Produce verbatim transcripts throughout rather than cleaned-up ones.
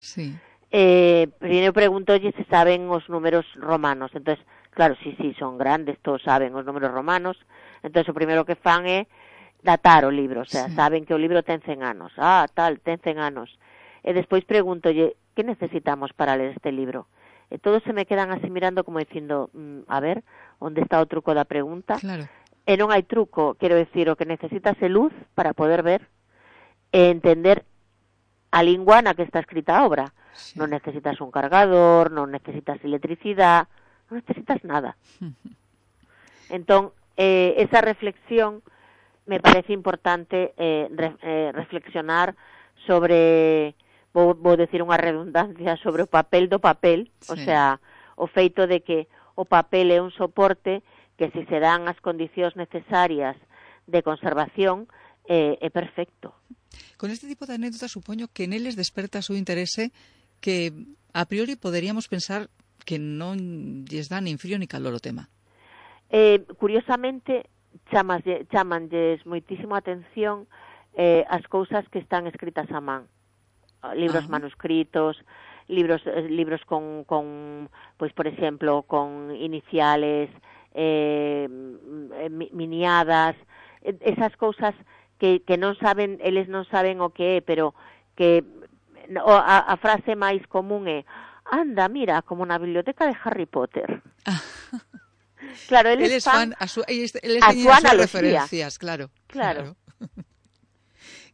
Sí. Eh, primeiro preguntolle se saben os números romanos. Entonces, claro, sí, sí, son grandes, todos saben os números romanos. Entonces, o primeiro que fan é datar o libro, o sea, Sí. saben que o libro ten cen anos. Ah, tal, ten cen anos. E despois pregúntolle, que necesitamos para ler este libro? E todos se me quedan así mirando como dicindo, mm, a ver, onde está o truco da pregunta? Claro. E non hai truco, quero decir, o que necesitas é luz para poder ver e entender a lingua na que está escrita a obra. Sí. Non necesitas un cargador, non necesitas electricidade, non necesitas nada. Entón, eh, esa reflexión me parece importante eh, re, eh, reflexionar sobre, vou, vou decir unha redundancia, sobre o papel do papel, Sí. o sea, o feito de que o papel é un soporte que se se dan as condicións necesarias de conservación eh, é perfecto. Con este tipo de anécdotas supoño que neles desperta o seu interese que a priori poderíamos pensar que non lles dá nin frío ni calor o tema. Eh, curiosamente, chamas, chamanlles moitísimo atención eh, as cousas que están escritas a man. Libros Ah. manuscritos, libros eh, libros con, con, pois, por exemplo, con iniciales, eh, miniadas, esas cousas que, que non saben, eles non saben o que é, pero que a, a frase máis común é, anda, mira, como na biblioteca de Harry Potter. Claro, eles, eles fan, fan a su, eles, eles a teñen súa as súas analogía. referencias, claro. Claro. claro.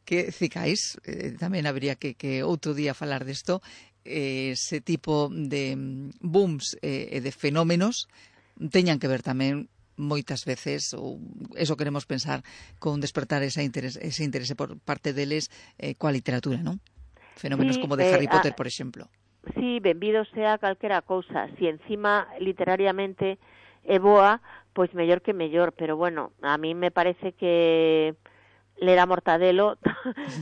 Que cicais, eh, tamén habría que, que outro día falar desto, eh, ese tipo de booms e eh, de fenómenos teñan que ver tamén moitas veces, ou eso queremos pensar, con despertar ese interese, ese interese por parte deles eh, coa literatura, non? Fenómenos sí, como de eh, Harry Potter, a, por exemplo. Sí, benvido sea calquera cousa. Si encima literariamente é boa, pois mellor que mellor, pero bueno, a mí me parece que ler a Mortadelo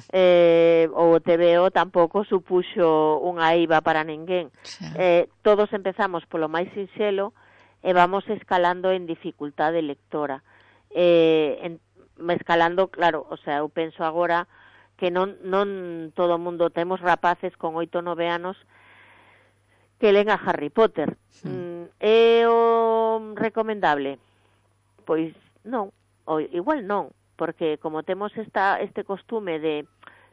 eh, ou o T V O tampouco supuxo unha eiva para ninguén. Sí. Eh, todos empezamos polo máis sinxelo e vamos escalando en dificultade lectora. Eh, en, escalando, claro, o sea, eu penso agora que non, non todo o mundo, temos rapaces con oito nove anos que len a Harry Potter. Mm. É o recomendable? Pois non, o igual non, porque como temos esta, este costume de,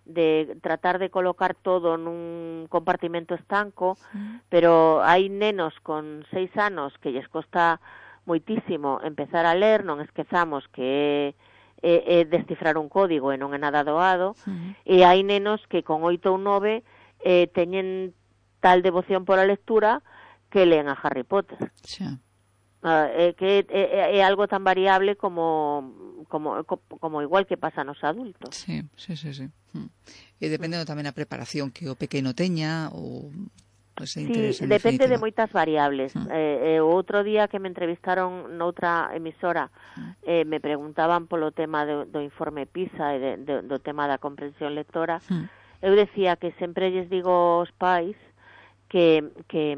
de tratar de colocar todo nun compartimento estanco, mm. pero hai nenos con seis anos que lles costa moitísimo empezar a ler, non esquezamos que é, é descifrar un código e non é nada doado, mm. e hai nenos que con oito ou nove eh, teñen tal devoción por a lectura que leen a Harry Potter. Sí. Uh, é que é, é algo tan variable como, como como igual que pasa nos adultos. Sí, sí, sí, sí. E dependendo tamén a preparación que o pequeno teña ou ese interés, sí, en depende definitiva. de moitas variables. Mm. Eh, eh, o outro día que me entrevistaron noutra emisora, mm. eh, me preguntaban polo tema do, do informe PISA e de, de, do tema da comprensión lectora. Mm. Eu decía que sempre lles digo aos pais que, que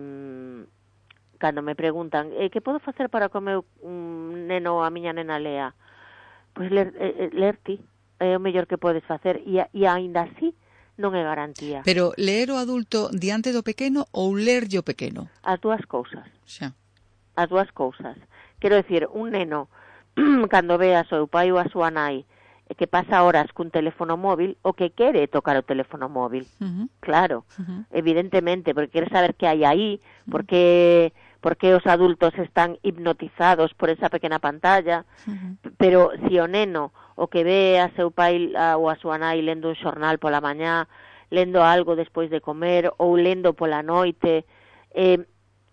cando me preguntan eh, que podo facer para que o meu um, neno ou a miña nena lea, pois ler, eh, ler ti é o mellor que podes facer e, e aínda así non é garantía. Pero ler o adulto diante do pequeno ou lerlle o pequeno? As dúas cousas. Xa. As dúas cousas. Quero decir, un neno cando ve a seu pai ou a súa nai que pasa horas cun teléfono móvil, o que quere tocar o teléfono móvil. Uh-huh. Claro, uh-huh. evidentemente, porque quere saber que hai aí, uh-huh. porque, porque os adultos están hipnotizados por esa pequena pantalla, uh-huh. pero si o neno o que ve a seu pai a, ou a súa nai lendo un xornal pola mañá, lendo algo despois de comer ou lendo pola noite, eh,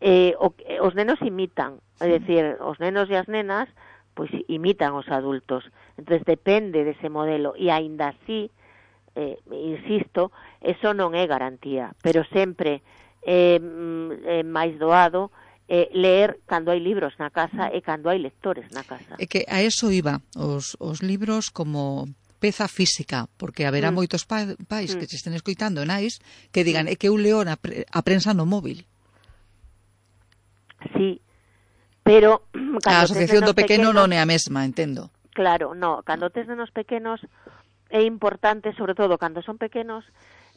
eh, o, os nenos imitan, é dicir, os nenos e as nenas pois imitan os adultos. Entonces depende dese modelo e aínda así, eh, insisto, eso non é garantía, pero sempre é eh, máis doado eh, ler cando hai libros na casa e cando hai lectores na casa. É que a eso iba, os, os libros como peza física, porque haberá mm. moitos pa, pais mm. que se estén escoitando nais que digan, mm. é que eu leo a, a prensa no móvil. Sí, pero a asociación do pequeno non é a mesma, entendo. Claro, no, cando tes nenos pequenos é importante, sobre todo cando son pequenos,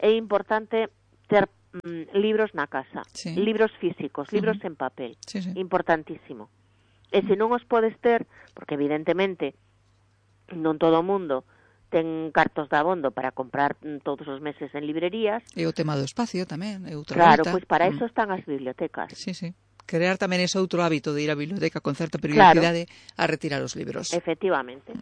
é importante ter mm, libros na casa, sí. libros físicos, libros uh-huh. en papel, sí, sí. importantísimo. E se non os podes ter, porque evidentemente non todo o mundo ten cartos de abondo para comprar todos os meses en librerías. E o tema do espacio tamén, é outra Claro, volta. Pois para mm. eso están as bibliotecas. Sí, sí. Crear tamén ese outro hábito de ir á biblioteca con certa periodicidade claro. a retirar os libros. Efectivamente.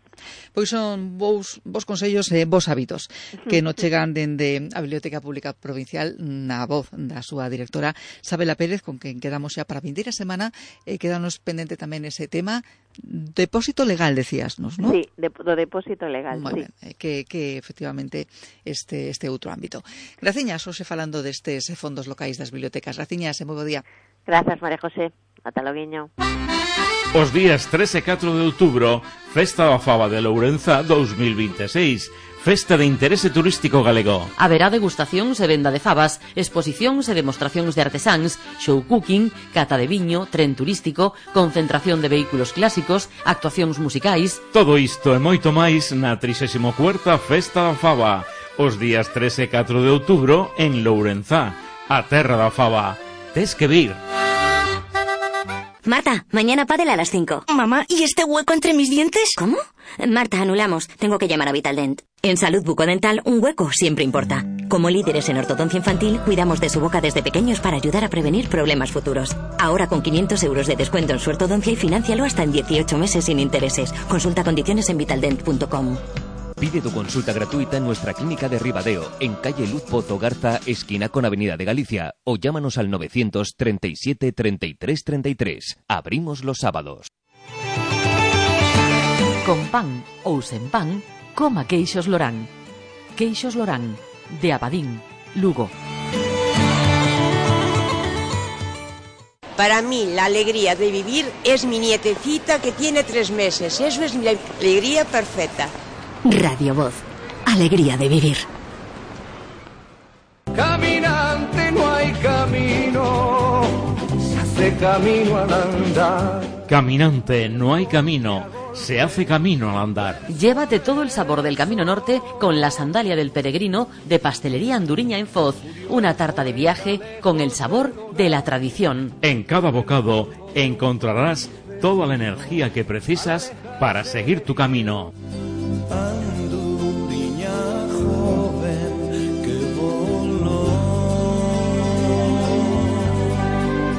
Pois son vos, vos consellos e vos hábitos que nos chegan dende a Biblioteca Pública Provincial na voz da súa directora Sabela Pérez, con quen quedamos xa para a vindeira semana e quedanos pendente tamén ese tema depósito legal, decíasnos, non? Sí, de, do depósito legal, Moi sí. ben, que, que efectivamente este, este outro ámbito. Graciñas, hoxe falando destes fondos locais das bibliotecas. Graciñas e moi bo día. Grazas, María José. Ata loguiño. Os días tres e catro de outubro, Festa da Faba de Lourenza dous mil vinte e seis. Festa de interese turístico galego. Haberá degustacións e venda de fabas, exposicións e demostracións de artesáns, show cooking, cata de viño, tren turístico, concentración de vehículos clásicos, actuacións musicais. Todo isto e moito máis na trixésima cuarta Festa da Faba, os días tres e catro de outubro en Lourenza, a terra da faba. Tes que vir. Marta, mañana pádel a las cinco. Mamá, ¿y este hueco entre mis dientes? ¿Cómo? Marta, anulamos. Tengo que llamar a Vitaldent. En Salud Bucodental, un hueco siempre importa. Como líderes en ortodoncia infantil, cuidamos de su boca desde pequeños para ayudar a prevenir problemas futuros. Ahora con quinientos euros de descuento en su ortodoncia y financialo hasta en dieciocho meses sin intereses. Consulta condiciones en vitaldent punto com. Pide tu consulta gratuita en nuestra clínica de Ribadeo, en calle Luz Pozo Garza, esquina con Avenida de Galicia, o llámanos al novecientos treinta y siete treinta y tres treinta y tres. Abrimos los sábados. Con pan ou sen pan, coma queixos Lorán. Queixos Lorán, de Abadín, Lugo. Para mí la alegría de vivir es mi nietecita que tiene tres meses. Eso es mi alegría perfecta. Radio Voz. Alegría de vivir. Caminante no hay camino, se hace camino al andar. Caminante no hay camino, se hace camino al andar. Llévate todo el sabor del Camino Norte con la sandalia del peregrino de Pastelería Anduriña en Foz. Una tarta de viaje con el sabor de la tradición. En cada bocado encontrarás toda la energía que precisas para seguir tu camino. Anduriña joven que voló.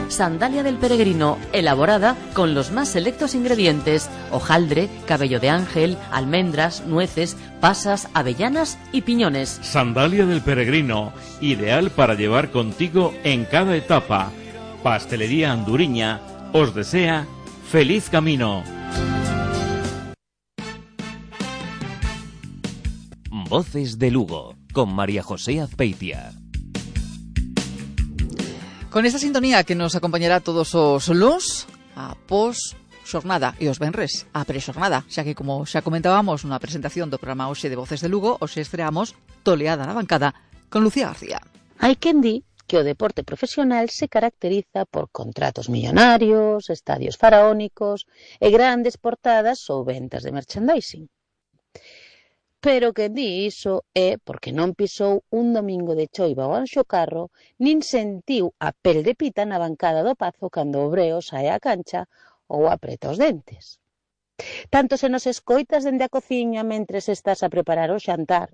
Sandalia del peregrino, elaborada con los más selectos ingredientes: hojaldre, cabello de ángel, almendras, nueces, pasas, avellanas y piñones. Sandalia del peregrino, ideal para llevar contigo en cada etapa. Pastelería Anduriña os desea feliz camino. Voces de Lugo, con María José Azpeitia. Con esta sintonía que nos acompañará todos os luns a pos xornada e os venres a prexornada, xa que, como xa comentábamos na presentación do programa hoxe de Voces de Lugo, hoxe estreamos Toleada na bancada con Lucía García. Hai quen di que o deporte profesional se caracteriza por contratos millonarios, estadios faraónicos e grandes portadas ou ventas de merchandising. Pero quen di iso é porque non pisou un domingo de choiva ao Anxo Carro, nin sentiu a pel de pita na bancada do Pazo cando o Breo sae á cancha ou apreta os dentes. Tanto se nos escoitas dende a cociña mentres estás a preparar o xantar,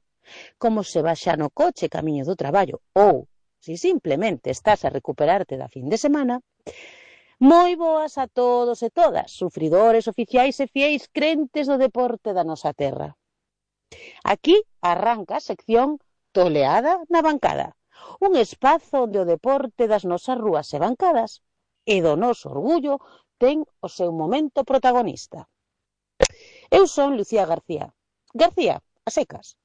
como se vas xa no coche camiño do traballo, ou se simplemente estás a recuperarte da fin de semana, moi boas a todos e todas, sufridores, oficiais e fieis crentes do deporte da nosa terra. Aquí arranca a sección Toleada na bancada, un espazo onde o deporte das nosas rúas e bancadas e do noso orgullo ten o seu momento protagonista. Eu son Lucía García. García, a secas.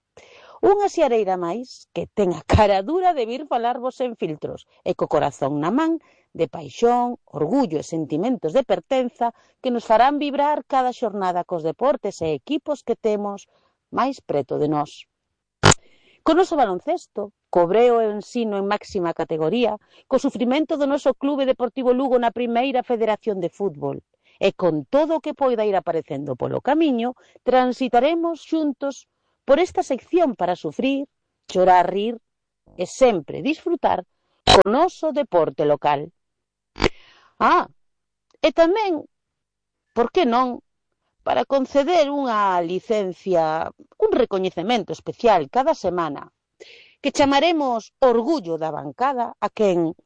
Unha xiareira máis que ten a cara dura de vir falarvos sen filtros e co corazón na man de paixón, orgullo e sentimentos de pertenza que nos farán vibrar cada xornada cos deportes e equipos que temos máis preto de nós. Co noso baloncesto, co Breo e o ensino en máxima categoría, co sufrimento do noso Clube Deportivo Lugo na primeira federación de fútbol, e con todo o que poida ir aparecendo polo camiño, transitaremos xuntos por esta sección para sufrir, chorar, rir e sempre disfrutar co noso deporte local. Ah, e tamén, por que non, para conceder unha licencia, un recoñecemento especial cada semana, que chamaremos Orgullo da Bancada a quen,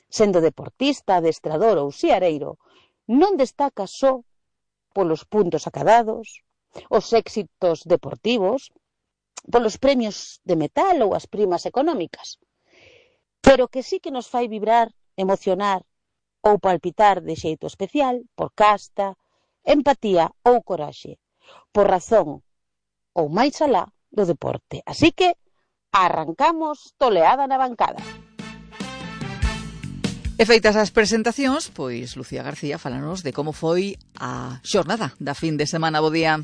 sendo deportista, adestrador ou xiareiro, non destaca só polos puntos acadados, os éxitos deportivos, polos premios de metal ou as primas económicas, pero que sí que nos fai vibrar, emocionar ou palpitar de xeito especial por casta, empatía ou coraxe, por razón ou máis alá do deporte. Así que arrancamos Toleada na Bancada. E feitas as presentacións, pois Lucía García falanos de como foi a xornada da fin de semana. Bo día.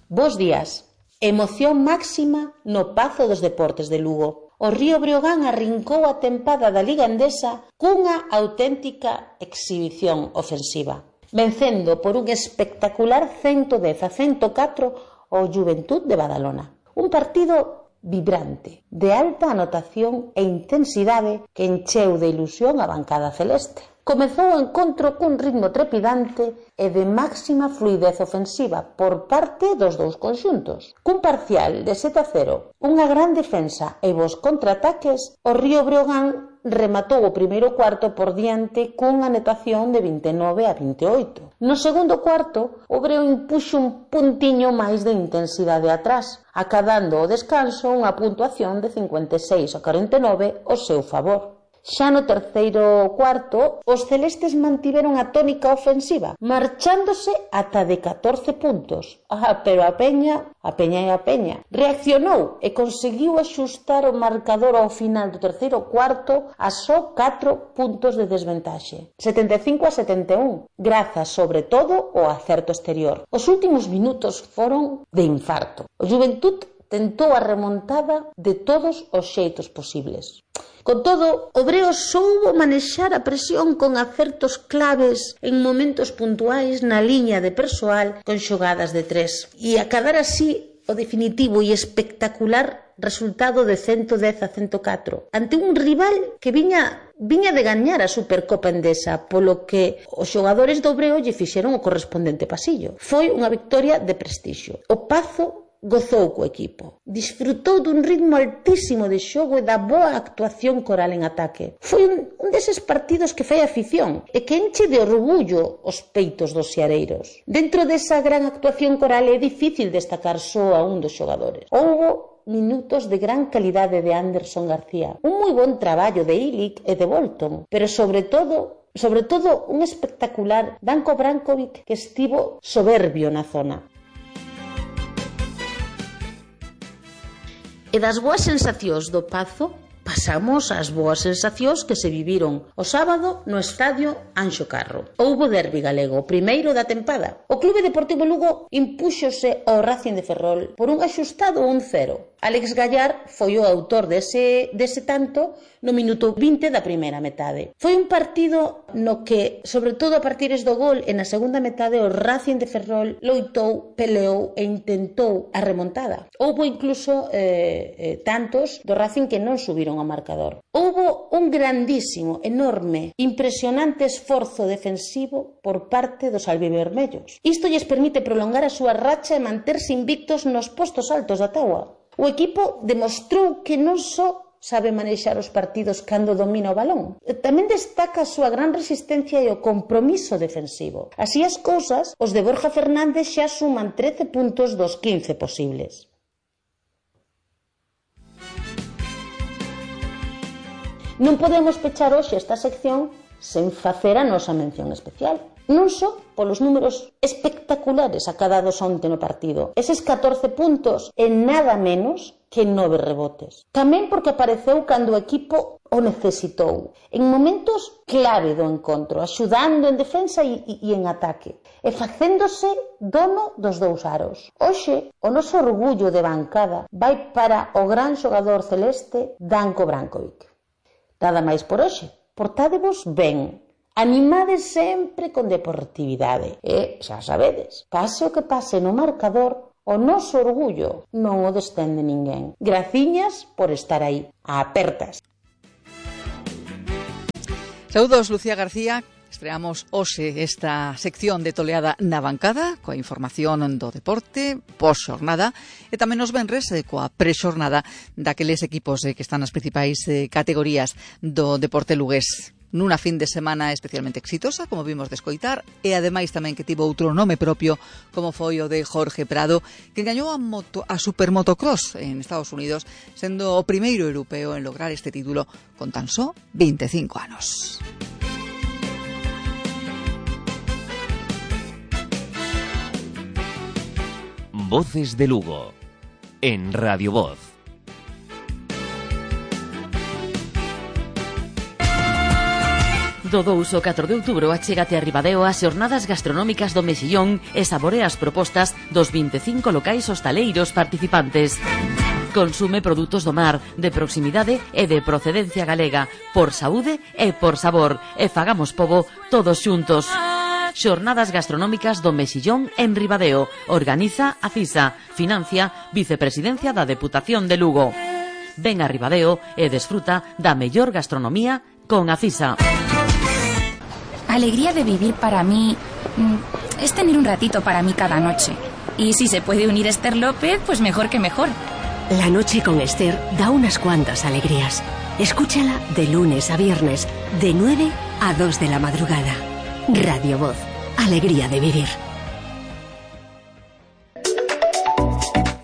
Bos días. Emoción máxima no Pazo dos Deportes de Lugo. O Río Breogán arrincou a tempada da Liga Endesa cunha auténtica exhibición ofensiva, vencendo por un espectacular ciento dez a ciento catro o Juventud de Badalona. Un partido vibrante, de alta anotación e intensidade que encheu de ilusión a bancada celeste. Comezou o encontro cun ritmo trepidante e de máxima fluidez ofensiva por parte dos dous conxuntos. Cun parcial de sete a cero, unha gran defensa e vos contraataques, o Río Breogán rematou o primeiro cuarto por diante cunha anotación de vinte e nove a vinte e oito. No segundo cuarto, o Breo impuxo un puntiño máis de intensidade atrás, acadando o descanso unha puntuación de cincuenta e seis a cuarenta e nove ao seu favor. Xa no terceiro cuarto, os celestes mantiveron a tónica ofensiva, marchándose ata de catorce puntos. Ah, pero a Peña, a Peña e a Peña, reaccionou e conseguiu axustar o marcador ao final do terceiro cuarto a só catro puntos de desventaxe, setenta e cinco a setenta e un, grazas sobre todo ao acerto exterior. Os últimos minutos foron de infarto. O Juventud tentou a remontada de todos os xeitos posibles. Con todo, o Breo soubo manexar a presión con acertos claves en momentos puntuais na liña de persoal con xogadas de tres e acadar así o definitivo e espectacular resultado de ciento dez a ciento catro ante un rival que viña viña de gañar a Supercopa Endesa, polo que os xogadores do Breo lle fixeron o correspondente pasillo. Foi unha victoria de prestixio. O Pazo gozou co equipo, disfrutou dun ritmo altísimo de xogo e da boa actuación coral en ataque. Foi un, un deses partidos que fai afición e que enche de orgullo os peitos dos xareiros. Dentro desa gran actuación coral é difícil destacar só a un dos xogadores. Houbo minutos de gran calidade de Anderson García, un moi bon traballo de Ilic e de Bolton, pero sobre todo, sobre todo un espectacular Danko Brankovic que estivo soberbio na zona. E das boas sensacións do Pazo, pasamos ás boas sensacións que se viviron o sábado no estadio Anxo Carro. Houbo derbi galego, o primeiro da tempada. O Clube Deportivo Lugo impúxose ao Racing de Ferrol por un axustado un cero. Alex Gallar foi o autor dese, dese tanto no minuto vinte da primeira metade. Foi un partido no que, sobre todo a partires do gol e na segunda metade, o Racing de Ferrol loitou, peleou e intentou a remontada. Houbo incluso eh, eh, tantos do Racing que non subiron ao marcador. Houbo un grandísimo, enorme, impresionante esforzo defensivo por parte dos albivermellos. Isto lles permite prolongar a súa racha e manterse invictos nos postos altos da táboa. O equipo demostrou que non só sabe manexar os partidos cando domina o balón, tamén destaca a súa gran resistencia e o compromiso defensivo. Así as cousas, os de Borja Fernández xa suman trece puntos dos quince posibles. Non podemos pechar hoxe esta sección sen facer a nosa mención especial. Non só polos números espectaculares acadados onte no partido, eses catorce puntos e nada menos que nove rebotes. Tamén porque apareceu cando o equipo o necesitou, en momentos clave do encontro, axudando en defensa e, e, e en ataque, e facéndose dono dos dous aros. Hoxe, o noso orgullo de bancada vai para o gran xogador celeste Danko Brankovic. Nada máis por hoxe. Portádevos ben. Animades sempre con deportividade. E, xa sabedes, pase o que pase no marcador, o noso orgullo non o destende ninguén. Graciñas por estar aí. A apertas. Saúdos, Lucía García. Estreamos hoxe esta sección de Toleada na bancada coa información do deporte pos-xornada e tamén nos venres eh, coa pre-xornada daqueles equipos eh, que están nas principais eh, categorías do deporte lugués. Nunha fin de semana especialmente exitosa, como vimos de escoitar, e ademais tamén que tivo outro nome propio, como foi o de Jorge Prado, que gañou a, moto, a Supermotocross en Estados Unidos, sendo o primeiro europeo en lograr este título con tan só veinticinco anos. Voces de Lugo, en Radio Voz. Do dous ao catro de outubro achégate a Ribadeo as xornadas gastronómicas do Mexillón e saborea as propostas dos veinticinco locais hostaleiros participantes. Consume produtos do mar, de proximidade e de procedencia galega, por saúde e por sabor, e fagamos pobo todos xuntos. Xornadas gastronómicas do Mexillón en Ribadeo. Organiza a CISA. Financia Vicepresidencia da Deputación de Lugo. Ven a Ribadeo e desfruta da mellor gastronomía con a CISA. Alegría de vivir para mí es tener un ratito para mí cada noche. Y si se puede unir Esther López, pues mejor que mejor. La noche con Esther da unas cuantas alegrías. Escúchala de lunes a viernes, de nueve a dos de la madrugada. Radio Voz, alegría de vivir.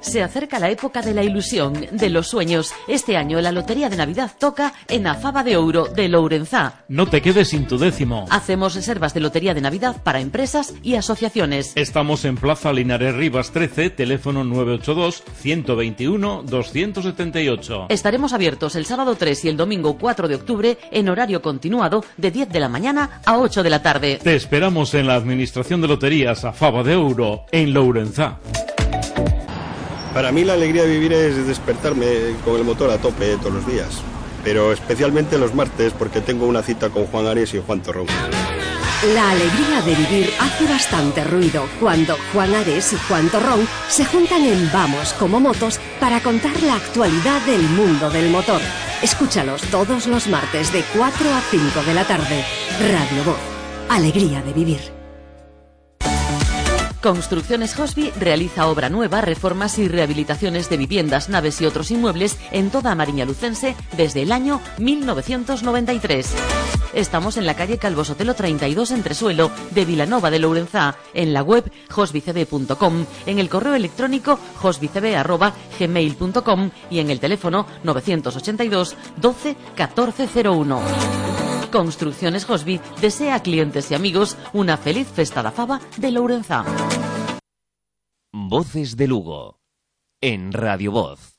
Se acerca la época de la ilusión, de los sueños. Este año la Lotería de Navidad toca en a Faba de Ouro de Lourenzá. No te quedes sin tu décimo. Hacemos reservas de Lotería de Navidad para empresas y asociaciones. Estamos en Plaza Linares Rivas trece, teléfono nueve ocho dos, uno dos uno, dos siete ocho. Estaremos abiertos el sábado tres y el domingo cuatro de octubre en horario continuado de diez de la mañana a ocho de la tarde. Te esperamos en la Administración de Loterías a Faba de Ouro, en Lourenzá. Para mí la alegría de vivir es despertarme con el motor a tope todos los días, pero especialmente los martes porque tengo una cita con Juan Ares y Juan Torrón. La alegría de vivir hace bastante ruido cuando Juan Ares y Juan Torrón se juntan en Vamos como Motos para contar la actualidad del mundo del motor. Escúchalos todos los martes de cuatro a cinco de la tarde. Radio Voz, alegría de vivir. Construcciones Hosby realiza obra nueva, reformas y rehabilitaciones de viviendas, naves y otros inmuebles en toda Mariña Lucense desde el año mil novecientos noventa y tres. Estamos en la calle Calvo Sotelo treinta y dos Entresuelo de Vilanova de Lourenzá, en la web hosbycb punto com, en el correo electrónico hosbycb arroba gmail punto com y en el teléfono novecientos ochenta y dos doce catorce cero uno. Construcciones Hosby desea a clientes y amigos una feliz festa da faba de Lourenzá. Voces de Lugo, en Radio Voz.